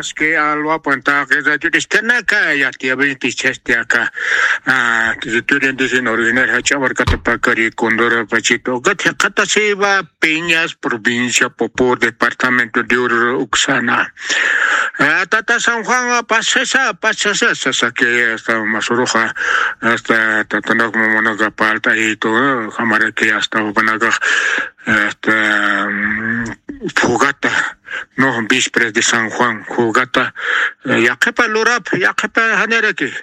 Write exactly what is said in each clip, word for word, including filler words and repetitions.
Es que alwapan taqi radioristanaka yatiyawinti chasti aka, ah, territorio indígena original Jach'a Markatapakari Condoro Pachito, ukat jiqatasiwa Peñas, provincia Popó, departamento de Oruro uksana. Ah, tata San Juan, ah, pasasa, pasasa, sasa que hasta Masuruxa, hasta tatanak mamanaka palta y todo, jamara que hasta Jupanaka, hasta, mm, Fogata, no, vísperas de San Juan, Fogata, eh, yaqhipa lurap, yaqhipa janiraki.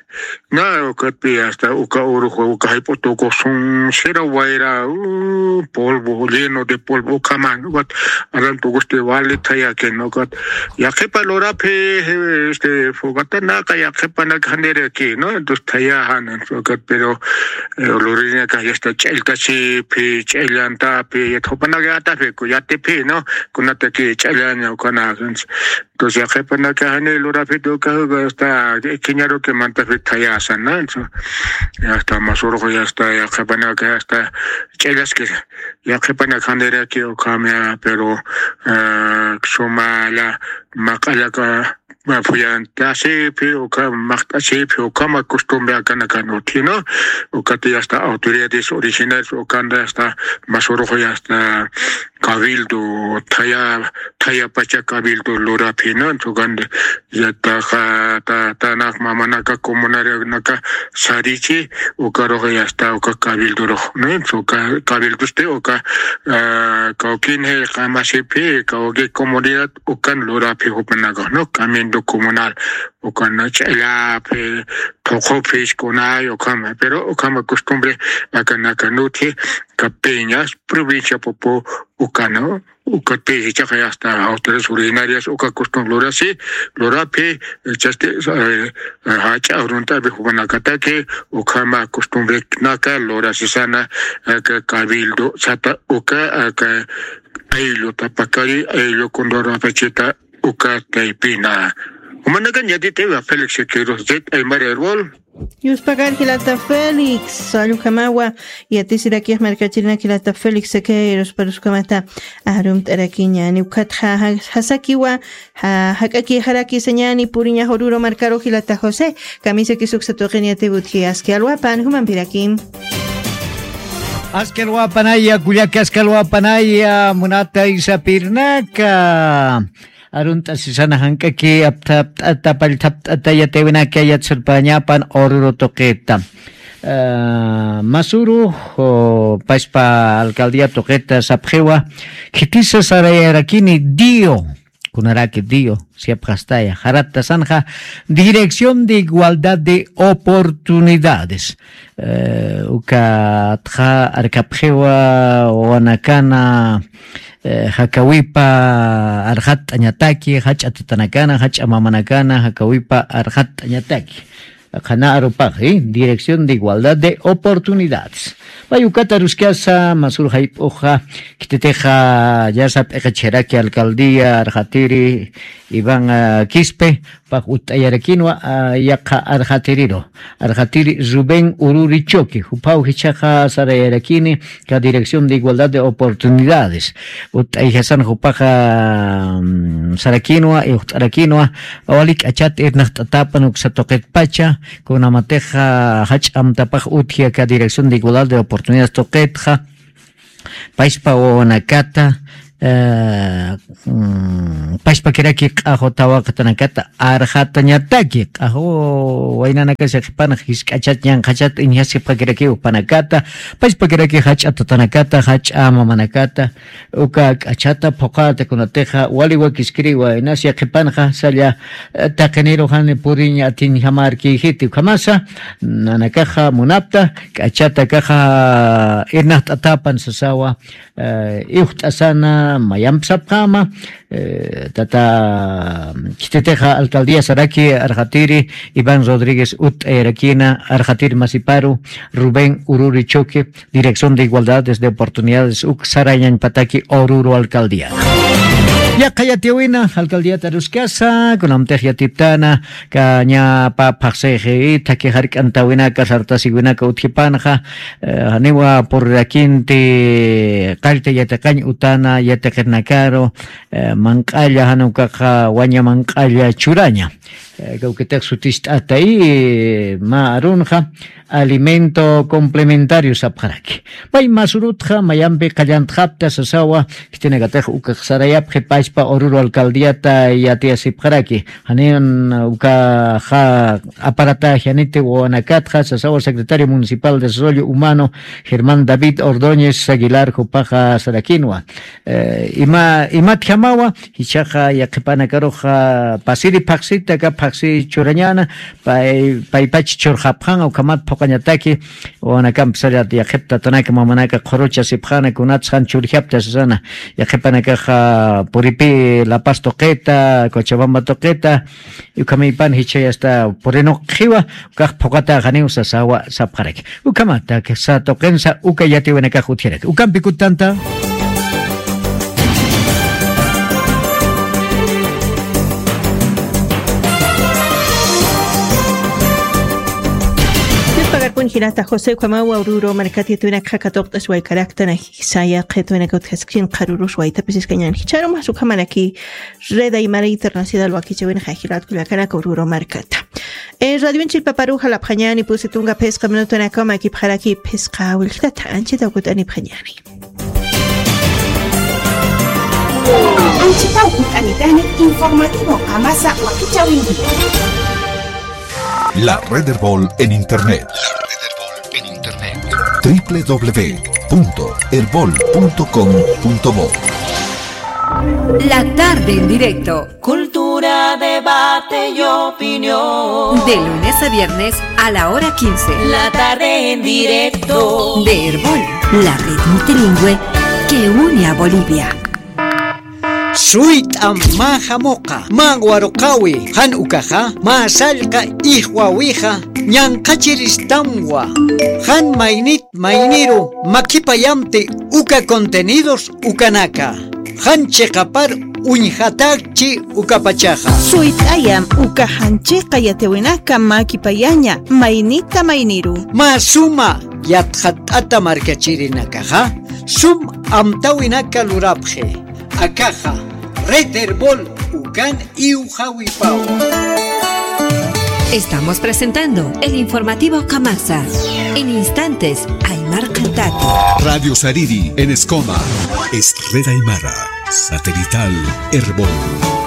Na, ukatpi hasta uka urujo, uka jayp'u tukusun, sira wayra, uh, polvo, lleno de polvo, ukhaman, ukat, aran tukusti wali thayaki, no, ukat, yaqhipa lurapi, eh, este, Fogatanaka, yaqhipanak janiraki, ¿no? Entonces, thayajan, ukat, pero, eh, lurinaka, ya está, ch'elltasipi, ch'ellantapi, ya thupanaka, yatapi, ku, yatipi, ¿no? Kunataki, ch'ellaña, ukana, entonces, yaqhipanaka jani lurapita uka, uka hasta kiñaruki mantapi thayasa, ¿no? Eso, ya está, Masuruxa, ya está, yaqhipanaka, ya está, ch'ellaskisa. Yaqhipanaka janiraki ukhamya, pero, eh, sumalla maq'allaka, ma, phuyantasipi, uka maqt'asipi, ukhama costumbre akanakan utji, ¿no? Ukati ya está autoridades originales, ukanda ya está Masuruxa, ya está cabildo, thaya, thayapacha cabildo lurapi, ¿no? Entonces, ya taqa, ta, tanak mamanaka, comunarianaka sarichi, ukarux ya está, uka cabildorux, ¿no? Entonces, uka cabildosti, uka, ah, kawkinji qamasipi, kawki comunidad, ukan lurapi jupanaka, ¿no? Cabildo comunal, ukan ch'ellapi, thuqupi, kunay, ukhama, pero ukhama costumbre, akanaka utji, Capeñas, provincia Popó, uka, ¿no? Uka te, jichhaqa ya está, autores originarias, uka costumbre lurasi, lurapi, eh, chasti, eh, eh, jach'a arunt'api jupanakataki, ukhama costumbre naka lurasisana, aka cabildo, sata, uka, aka, ayllu Tapacari, ayllu Condoro Pachita, uka taypina. Jumanakan yatitiwa Félix Siqueiros, Zet Aymara Herbol. Yuspakar jilata Félix, allukamawa, yatisirakix markachirinak jilata Félix Siqueiros, paruskamata, arumt'arakiña, niwkatxa, ja-, jasakiwa, ja-, jak'aki jaraki sañani puriña Oruro markaru jilata José, kamisaki suksa tuqin yatiwutji aski alwapan, jumampirakim. Aski alwapanaya, kullaki aski alwapanaya, munata isapirnaka. Arunt'asisana jank'aki apthapt'ata, pallthapt'ata yatiwinaka yatsurpañapan Oruro tuqita. Ah, Masuru, o, paspa alcaldía tuqita sapxiwa, khitisa sarayarakini dio, kunaraki dio, siapxastaya, jaratasanxa, Dirección de Igualdad de Oportunidades. Eh, ukatxa arkapxiwa wawanakana, eh, jakawipa arxatt'añataki, jach'a tatanakana, jach'a mamanakana, jakawipa arxatt'añataki. Qhana arupax, ¿eh? Dirección de Igualdad de Oportunidades. Pay ukat aruskasa, Masuru jayp'uxa, khititixa, ya sap'iqachiraki alcaldía, arxatiri, Iván, ah, Quispe, pax utt'ayarakinwa, ah, yaqha arxatiriru. Arxatiri Rubén Ururi Choque, juphaw jichhaxa sarayarakini, ka Dirección de Igualdad de Oportunidades. Utt'ayjasan jupaxa, mm, sarakinwa, iwxt'arakinwa, wali k'achat irnaqt'atapan uksa tuqitpacha, kunamatixa jach'a amtapax utji aka Dirección de Igualdad de Oportunidades tuqitxa, paspa wawanakata, eh, mm, paspakiraki q'axu tawaqatanakata arxatañataki, q'axu waynanakasa qhipanx jisk'achat ñanqhachat iñjasipxakiraki jupanakata, paspakiraki jach'a tatanakata, jach'a mamanakata, uka k'achata phuqata kunatixa wali wakiskiriwa, inas yaqhipanxa salla, eh, taqiniru jani puriñ atiñjamarkïjiti, ukhamasa, nanakaxa munapta, k'achata akaxa irnaqt'atapan sasawa, eh, iwxt'asana, mayamp sapxama, eh, tata, khititixa alcaldía saraki arxatiri, Iván Rodríguez utt'ayarakina, arxatiri masiparu, Rubén Ururi Choque, Dirección de Igualdades de Oportunidades, uk sarayañpataki Oruro alcaldía. Yaqha yatiyäwina alcaldíat aruskasa, kunamtix yatiptana, kañapa phaxsixi, thaki jark'antawinaka, sartasiwinaka utjipanxa, eh, janiwa purirakinti qallta yatiqañ utana yatiqirnakaru, eh, manq'alla, jan ukaxa waña manq'alla churaña. Eh, kawkitix sutist'atay, eh, mä arunxa, alimento complementario sapxaraki. Pay masurutxa mayampi qallantxapta sasawa, khitinakatix ukax sarayapxi pachpa Oruro alcaldíata yatiyasipxaraki. Janin ukaxa aparata janiti wawanakatxa sasawa secretario municipal de desarrollo humano Germán David Ordóñez Aguilar jupaxa sarakinwa. Eh, ima, imatjamawa, jichhaxa yaqhipanakaruxa pasiri phaxsita, aka phaxsi churañäna, pay, paypach churxapxan, ukhamat phuqañataki, wawanakampi sara yaqhip tatanaka mamanaka qhuruchasipxäna, kunatsa jan churjapta sasana, yaqhipanakaxa puripi La Paz tuqita, Cochabamba tuqita, ukhamïpan jichhay hasta purinuqxiwa, ukax phuqata janiw sasawa sapxaraki. Ukhamata, kisa tuqinsa uka yatiyäwinakax utjaraki. Ukampi kutanta. Dios pagarpun jilata José ukhamawa Oruro markat yatiyäwinakxa katuqt'as waykaraktan, jisa yaqha yatiyäwinaka utjasksin qharürus waytapis iskañän. Jichharu mas ukhamaraki Red Aymara Internacional wakichäwinxa jilat kullakanaka Oruro markata. Eh, radioin chillpaparu jalapxañäni pusi tunka phisqa minutanakaw makipxaraki phisqa willkata, anchhitaw kut'anipxañäni. Anchhitaw kut'anitani informativo Qamasa wakichäwiniri. La Red Erbol en Internet. La Red Erbol en Internet. W W W punto erbol punto com punto bo. La tarde en directo. Cultura, debate y opinión. De lunes a viernes a la hora quince. La tarde en directo. De Erbol, la red multilingüe que une a Bolivia. Suyt'am mä jamuqa, mä waruqäwi, jan ukaxa, mä sallqa ijwawixa, ñanqhachiristamwa, jan maynit mayniru makipayamti uka contenidos ukanaka. Jan chiqapar uñjatäkchi ukapachaxa. Suyt'ayam uka jan chiqa yatiyäwinaka makipayaña maynita mayniru. Mä suma yatxatt'ata markachirinakaxa, sum amtäwinaka lurapxi. Akaxa, Red Erbol ukan iwxawipawa. Estamos presentando el informativo Qamasa. En instantes, Aymar Qantati. Radio Sariri en Escoma. Es Red Aymara. Satelital Erbol.